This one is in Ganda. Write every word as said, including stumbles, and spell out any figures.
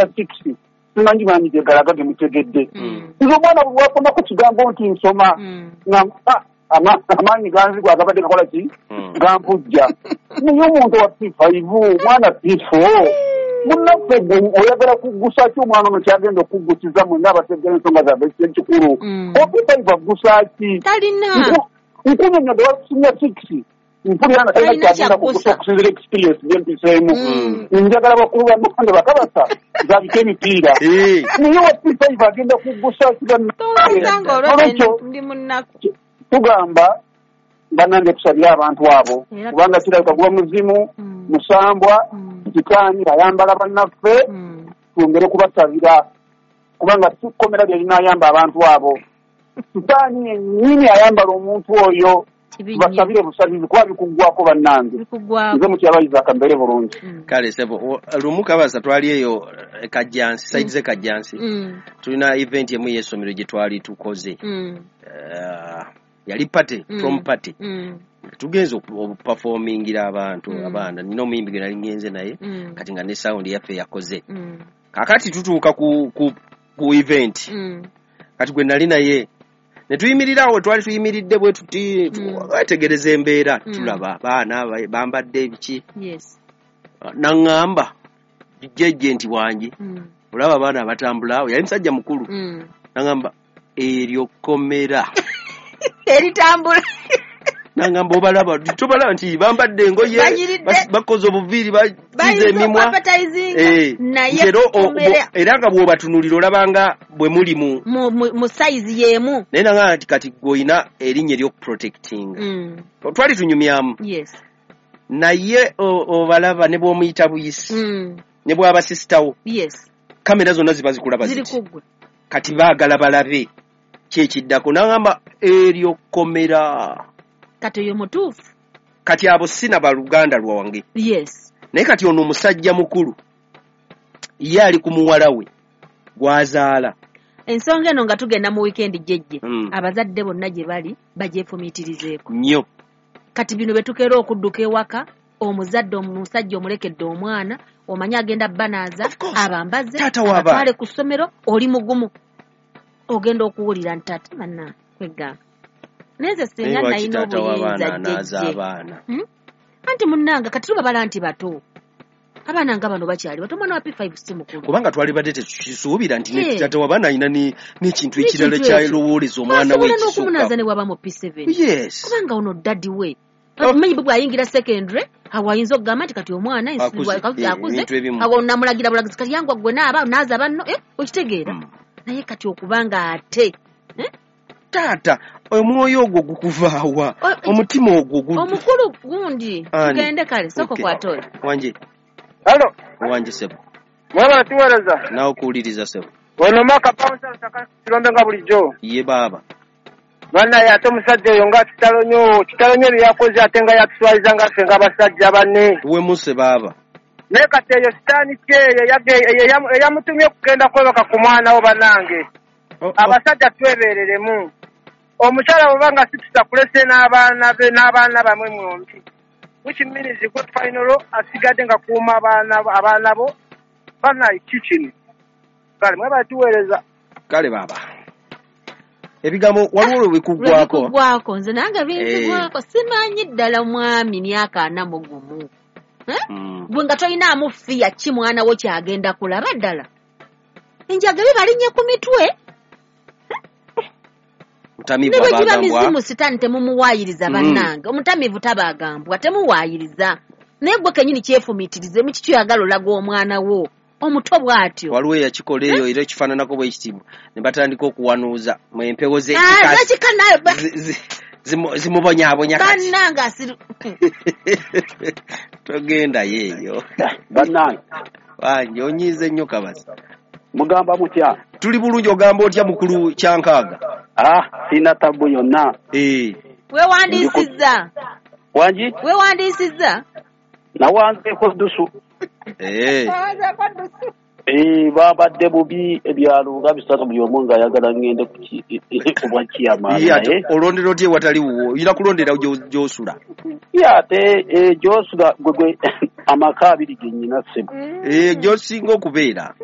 six simanyi maanyi ge galaga ge mutegedde. Nze omwana bwe wakoma ku kigambo nti nsoma nga amaanyi ganzigwa agabadde gakola ki gampujja. Naye omuntu wa P five omwana P four munnaffe gwe oyagala kuggusa ki omwana ono kyagenda okuggusiza mwenna abategera ensonga zaffe ekikulu. O P five aggusa ki? Talina. Nkunyonnyodde wa senior six mpulira nga talina kyagenda kuggusa okusinziira experience gye mpiseemu. Njagala bakulu bannange bakabasa zabike emipiira. Naye wa P five agenda kuggusa ki bannange? Ndi munnaku. Tugamba bannange tusabire abantu abo kubanga kirabika guba muzimu musambwa sitaani ayambala bannaffe twongere kubasabira kubanga si kkomera lye linaayamba abantu abo. Sitaani yennyini ayambala omuntu oyo, basabire busabizi kuba bikuggwako bannange. Nze mukyabayiza akambeere bulungi. Kale sebo, lumu Kabasa twali eyo Kajjansi, side ze Kajjansi, tulina event emu y'essomero gye twali tukoze. Yali party, prom party. Tugenze okuperformingira abantu abaana, nina omuyimbi gwe nali ngenze naye kati nga ne sound yaffe yakoze. Kaakati tutuuka ku ku ku event, kati gwe nali naye ne tuyimirira awo twali tuyimiridde bwe tuti wetegereza embeera, tulaba abaana bambadde ebiki. Naŋŋamba jjejje nti wangi olaba abaana abatambula awo, yali musajja mukulu, naŋŋamba eryo kkomera eritambula. Nangamba obalaba tobalaba nti bambadde engoye bakoze obuviiri bakiza emimwa era nga bw'obatunulira olabanga bwe muli mu mu sayizi y'emu. Naye nangamba nti kati gw'olina erinnya ery'okuprotectinga. Twali tunyumyamu. Naye obalaba ne bw'omuyita buyisi ne bw'aba sisitawo kamera zonna ziba zikulaba ziti kati baagala balabe kyekiddako. Nangamba eryo kkomera. Kati oyo mutuufu. Kati abo sina baluganda lwange. Yes. Naye kati ono omusajja mukulu ye ali ku muwala we gw'azaala. Ensonga eno nga tugenda mu weekend jjejje, abazadde bonna gye bali bagyefumiitirizeeko nnyo. Kati bino bye tukeera okudduka ewaka, omuzadde omusajja omulekedde omwana, omanyi agenda banaaza, abambaze, abatwale ku ssomero, oli mugumu. Ogenda okuwulira nti ate bannange kwegamba. Naye singa nalina obuyinza jjejje. Anti munnange kati tubabala nti bato. Abaana nga bano bakyali bato, omwana wa P five si mukulu. Kubanga twalibadde tetukisuubira nti taata w'abaana alina n'ekintu ekirala ky'alowooleza omwana we ekisukka. N'okumunaaza ne bw'aba mu P seven. Yes. Kubanga ono daddy we. Omanyi bwe bw'ayingira secondary, awo ayinza okugamba nti kati omwana akuze, awo namulagira bulagizi kati yangwa gwe naaba naaza banno, okitegeera. Naye kati okubanga ate taata omwoyo ogwo gukuvaawa, omutima ogwo omukulu gundi tugende kale soko kwata oyo. Wanje. Hello. Wanje sebo. Mwaba tuwereza. Nawe okuwuliriza sebo. Ono maka pawusa lusaka kirombe nga bulijjo. Ye baaba. Bannaye ate omusajja oyo nga kitalo nnyo, kitalo nnyo bye yakoze ate nga yatuswaliza nga ffe ng'abasajja banne. Wemuse baaba. Naye kati eyo sitaani ki eyo eyamutumye okugenda kwebaka ku mwana wo bannange. Abasajja twebeereremu. Omukyala bw'oba nga situsa kulese n'abaana be n'abaana bamwe mwombi. Which means good final asigadde nga kuuma abaana abaana bo bannaye ki kino. Kale mwebale tuweereza. Kale baaba. Ebigambo waliwo lwe bikuggwako. Bikuggwako nze nange binzigwako simanyi ddala mwami myaka ana mu gumu. Gwe nga tolinaamu fiya ki mwana wo kyagenda kulaba ddala. Enjaga bibalinnya ku mitwe. Mutamivu abagambwa. Ne bwe giba mizimu sitaani temumuwaayiriza bannange. Omutamivu tabagambwa temuwaayiriza. Naye gwe kennyini kyefumiitirize mu kiki oyagala olaga omwana wo. Omuto bw'atyo. Waliwo eyakikola eyo era ekifaananako bwe kitiibwa ne batandika okuwanuuza mu empewo z'ekika nayo zimubonyaabonya kati. Bannange asiru. Togendayo eyo. Bannange. Wange onyiize nnyo Kabasa. Mugamba mutya? Tuli bulungi. Ogamba otya mukulu Kyankaaga? Ah, sina tabu yonna. Eh. Weewandiisizza? Wangi? Weewandiisizza? Nawanzeeko ddusu. Eh. Eh, babadde bubi ebyalo nga bisatu buli omu ng'ayagala ngende ku bwa chairman. Ye olondera otya ewatali wuwo? Oyina kulondera gy'osula. Ye ate gy'osula gwe gwe amaka abiri ge nnyina ssebo. Eh, gy'osinga okubeera.